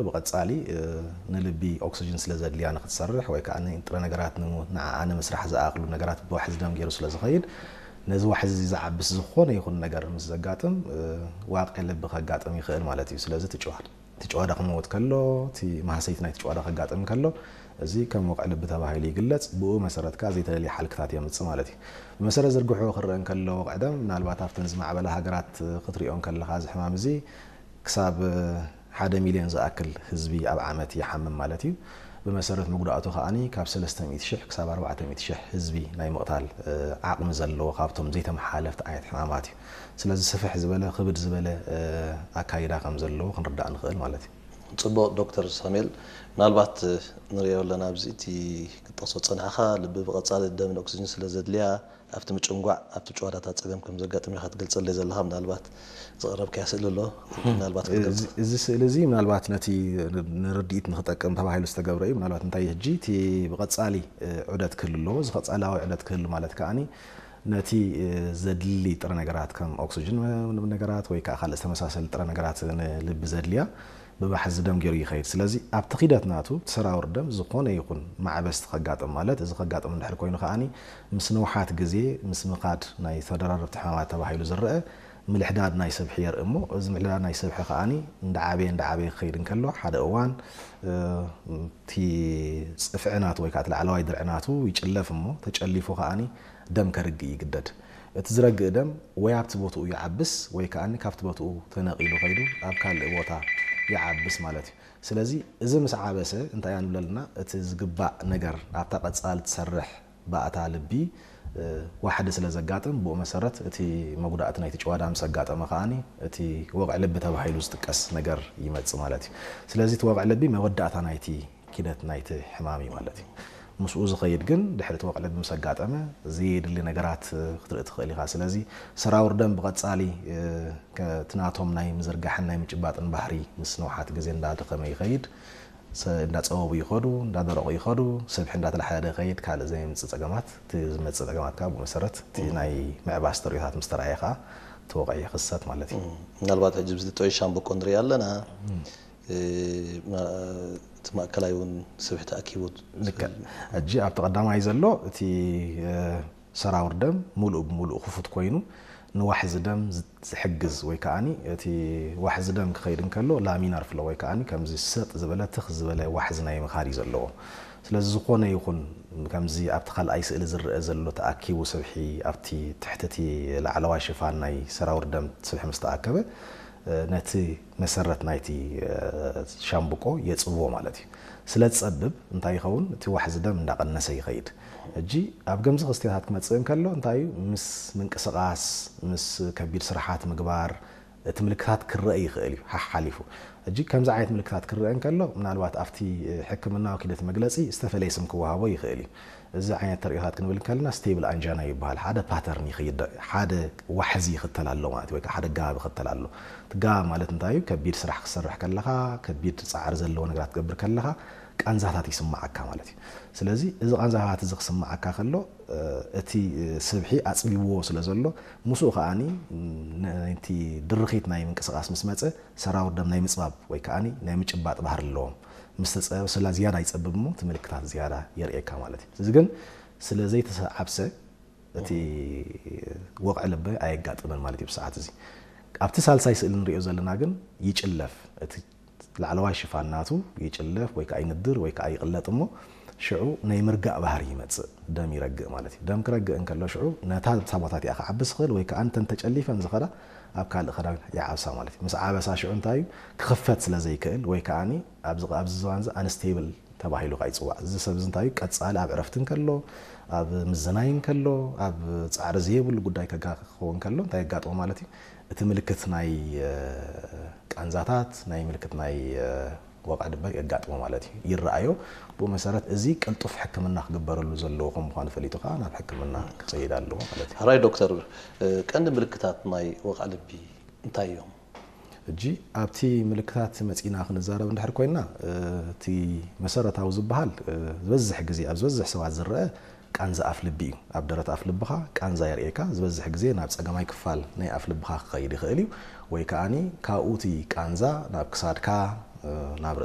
ብቐጻሊ ንልቢ ኦክስጅን ስለ ዘድልያ ንክትሰርሕ ወይ ከዓ ንጥረ ነገራት ንዓኣ ንምስራሕ ዝኣኽሉ ነገራት ብዋሕዚ ደም ገይሩ ስለ ዝኸይድ ነዚ ዋሕዚ እዚ ዝዓብስ ዝኾነ ይኹን ነገር ምስ ዘጋጥም ዋቂ ልቢ ከጋጥም ይኽእል ማለት እዩ። ስለዚ ትጭዋዳ ትጭዋዳ ክመውት ከሎ እቲ ማህሰይቲ ናይ ትጭዋዳ ከጋጥም ከሎ እዚ ከም ወቕዒ ልቢ ተባሂሉ ይግለጽ። ብኡ መሰረት ከዓ ዘይተደልየ ሓልክታት የምጽእ ማለት እዩ። ብመሰረት ዝርግሑ ክረአ እንከሎ ወቕዒ ደም ምናልባት ኣብተን ዝማዕበላ ሃገራት ክትሪኦ እንከለኻ እዚ ሕማም እዚ ክሳብ ሓደ ሚልዮን ዝኣክል ህዝቢ ኣብ ዓመት ይሓምም ማለት እዩ። ብመሰረት መጉዳእቱ ከዓኒ ካብ ሰለስተ ሚእቲ ሽሕ ክሳብ ኣርባዕተ ሚእቲ ሽሕ ህዝቢ ናይ ምቕታል ዓቕሚ ዘለዎ ካብቶም ዘይተመሓላለፍቲ ዓይነት ሕማማት እዩ። ስለዚ ስፍሕ ዝበለ ክብድ ዝበለ ኣካይዳ ከም ዘለዎ ክንርዳእ ንኽእል ማለት እዩ። ጽቡቕ ዶክተር ሳሙኤል፣ ምናልባት ንሪኦ ኣለና ኣብዚ እቲ ክትጠቕሶ ጸናሕኻ ልቢ ብቐጻሊ ደምን ኦክስጅን ስለ ዘድልያ ኣብቲ ምጭንጓዕ ኣብቲ ጭዋዳታ ጸገም ከም ዘጋጥም ኢኻ ትገልጸለይ ዘለኻ። ምናልባት ዘቕረብካያ ስእሊ ኣሎ ምናልባት ክትገልጽ። እዚ ስእሊ እዚ ምናልባት ነቲ ንርድኢት ንክጠቅም ተባሂሉ ዝተገብረ እዩ። ምናልባት እንታይ ሕጂ እቲ ብቐጻሊ ዑደት ክህሉ ኣለዎ። እዚ ቀጻላዊ ዑደት ክህሉ ማለት ከዓኒ ነቲ ዘድሊ ጥረ ነገራት ከም ኦክስጅን ነገራት ወይ ከዓ ካልእ ዝተመሳሰሉ ጥረ ነገራት ንልቢ ዘድልያ ብባሕዚ ደም ገይሩ ይኸይድ። ስለዚ ኣብቲ ኺደት ናቱ እቲ ሰራውር ደም ዝኾነ ይኹን ማዕበስቲ ከጋጥም ማለት እዚ ከጋጥም እንድሕር ኮይኑ ከዓኒ ምስ ንውሓት ግዜ ምስ ምኻድ ናይ ተደራረብቲ ሕማማት ተባሂሉ ዝረአ ምልሕዳድ ናይ ስብሒ የርኢ እሞ እዚ ምልሕዳድ ናይ ስብሒ ከዓኒ እንዳዓበየ እንዳዓበየ ክኸይድ እንከሎ ሓደ እዋን እቲ ፅፍዒ ናቱ ወይ ከዓ እቲ ላዕለዋይ ድርዒ ናቱ ይጭለፍ እሞ ተጨሊፉ ከዓኒ ደም ከርግእ ይግደድ። እቲ ዝረግእ ደም ወይ ኣብቲ ቦትኡ ይዓብስ ወይ ከዓኒ ካብቲ ቦትኡ ተነቒሉ ከይዱ ኣብ ካልእ ቦታ ይዓብስ ማለት እዩ። ስለዚ እዚ ምስ ዓበሰ እንታይ ኢና ንብለልና እቲ ዝግባእ ነገር ኣብታ ቀፃል ትሰርሕ ባእታ ልቢ ዋሕዲ ስለ ዘጋጥም ብኡ መሰረት እቲ መጉዳእቲ ናይቲ ጭዋዳ ምስ ኣጋጠመ ከዓኒ እቲ ወቕዒ ልቢ ተባሂሉ ዝጥቀስ ነገር ይመፅእ ማለት እዩ። ስለዚ እቲ ወቕዒ ልቢ መወዳእታ ናይቲ ኪደት ናይቲ ሕማም እዩ ማለት እዩ። ምስኡ ዝኸይድ ግን ድሕሪ እቲ ወቕዒ ልቢ ምስ ኣጋጠመ ዘየድሊ ነገራት ክትርኢ ትኽእል ኢኻ። ስለዚ ሰራውር ደም ብቐጻሊ እቲ ናቶም ናይ ምዝርጋሕን ናይ ምጭባጥን ባህሪ ምስ ንውሓት ግዜ እንዳደኸመ ይኸይድ። እንዳፀበቡ ይኸዱ፣ እንዳደረቑ ይኸዱ፣ ስብሒ እንዳተላሓደ ይኸይድ። ካልእ ዘየምፅእ ፀገማት እቲ ዝመፅእ ፀገማት ከዓ ብኡ መሰረት እቲ ናይ ምዕባስ ተርእዮታት ምስ ተረኣየ ከዓ እቲ ወቕዒ ይኽሰት ማለት እዩ። ምናልባት ሕጂ ብዚ ጥዑይ ሻምበቆ ንርኢ ኣለና። እቲ ማእከላይ እውን ስብሒ ተኣኪቡ ልክዕ። ሕጂ ኣብቲ ቀዳማይ ዘሎ እቲ ሰራውር ደም ሙሉእ ብሙሉእ ክፉት ኮይኑ ንዋሕዚ ደም ዝሕግዝ ወይ ከዓኒ እቲ ዋሕዚ ደም ክኸይድ እንከሎ ላሚናር ፍሎ ወይ ከዓኒ ከምዚ ሰጥ ዝበለ ትኽ ዝበለ ዋሕዚ ናይ ምኻድ እዩ ዘለዎ። ስለዚ ዝኾነ ይኹን ከምዚ ኣብቲ ካልኣይ ስእሊ ዝረአ ዘሎ ተኣኪቡ ስብሒ ኣብቲ ትሕቲ እቲ ላዕለዋይ ሽፋን ናይ ሰራውር ደም ስብሒ ምስ ተኣከበ ነቲ መሰረት ናይቲ ሻምብቆ የጽብቦ ማለት እዩ። ስለ ዝጸብብ እንታይ ይኸውን? እቲ ዋሕዚ ደም እንዳቐነሰ ይኸይድ። ሕጂ ኣብ ገምዚ ክስተታት ክመጽእ እንከሎ እንታይ እዩ? ምስ ምንቅስቓስ፣ ምስ ከቢድ ስራሓት ምግባር እቲ ምልክታት ክረአ ይኽእል እዩ ሓሓሊፉ። ሕጂ ከምዚ ዓይነት ምልክታት ክረአ እንከሎ ምናልባት ኣብቲ ሕክምናዊ ኪደት መግለጺ ዝተፈለየ ስም ክወሃቦ ይኽእል እዩ። እዚ ዓይነት ተርእዮታት ክንብል እንከለና ስቴብል ኣንጃና ይበሃል። ሓደ ፓተርን ይኸይድ፣ ሓደ ዋሕዚ ይኽተል ኣሎ ማለት ወይ ሓደ ጋብ ይኽተል ኣሎ። እቲ ጋብ ማለት እንታይ እዩ? ከቢድ ስራሕ ክሰርሕ ከለኻ፣ ከቢድ ጻዕሪ ዘለዎ ነገራት ትገብር ከለኻ ቃንዛታት ይስምዓካ ማለት እዩ። ስለዚ እዚ ቃንዛታት እዚ ክስምዓካ ከሎ እቲ ስብሒ ኣጽቢብዎ ስለ ዘሎ ምስኡ ከዓኒ ነቲ ድርኺት ናይ ምንቅስቓስ ምስ መጸ ሰራውር ደም ናይ ምጽባብ ወይ ከዓኒ ናይ ምጭባጥ ባህሪ ኣለዎም። ምስ ተጸበ ስላ ዝያዳ ይጸብብ እሞ እቲ ምልክታት ዝያዳ የርእየካ ማለት እዩ። እዚ ግን ስለ ዘይተዓብሰ እቲ ወቕዒ ልቢ ኣየጋጥምን ማለት እዩ ብሰዓት እዚ። ኣብቲ ሳልሳይ ስእሊ ንሪኦ ዘለና ግን ይጭለፍ። እቲ ላዕለዋይ ሽፋን ናቱ ይጭለፍ ወይ ከዓ ይንድር ወይ ከዓ ይቕለጥ እሞ ሽዑ ናይ ምርጋእ ባህሪ ይመፅእ፣ ደም ይረግእ ማለት እዩ። ደም ክረግእ እንከሎ ሽዑ ነታ ሳቦታት እያ ክዓቢ ዝኽእል ወይ ከዓ እንተን ተጨሊፈን ዝኸዳ ኣብ ካልእ ክዳን ይዓብሳ ማለት እዩ። ምስ ዓበሳ ሽዑ እንታይ እዩ ክኽፈት ስለ ዘይክእል ወይ ከዓኒ ኣብዚ ኣብዚ ዝባን እዚ ኣንስቴብል ተባሂሉ ከዓ ይፅዋዕ። እዚ ሰብ እዚ እንታይ እዩ ቀፃሊ ኣብ ዕረፍቲ እንከሎ ኣብ ምዝናይ እንከሎ ኣብ ፃዕሪ ዘይብሉ ጉዳይ ከጋ ክኸውን ከሎ እንታይ የጋጥሞ ማለት እዩ እቲ ምልክት ናይ ቃንዛታት ናይ ምልክት ናይ ወቕዒ ድማ የጋጥሞ ማለት እዩ ይረኣዮ። ብኡ መሰረት እዚ ቅልጡፍ ሕክምና ክግበረሉ ዘለዎ ከም ምዃኑ ፈሊጡ ከዓ ናብ ሕክምና ክኸይድ ኣለዎ ማለት እዩ። ሕራይ ዶክተር፣ ቀንዲ ምልክታት ናይ ወቕዒ ልቢ እንታይ እዮም? ሕጂ ኣብቲ ምልክታት መፂና ክንዛረብ እንድሕር ኮይና እቲ መሰረታዊ ዝበሃል ዝበዝሕ ግዜ ኣብ ዝበዝሕ ሰባት ዝረአ ቃንዛ ኣፍ ልቢ እዩ። ኣብ ደረት ኣፍ ልብኻ ቃንዛ የርእየካ። ዝበዝሕ ግዜ ናብ ፀገማይ ክፋል ናይ ኣፍ ልብኻ ክኸይድ ይኽእል እዩ ወይ ከዓኒ ካብኡ እቲ ቃንዛ ናብ ክሳድካ ናብ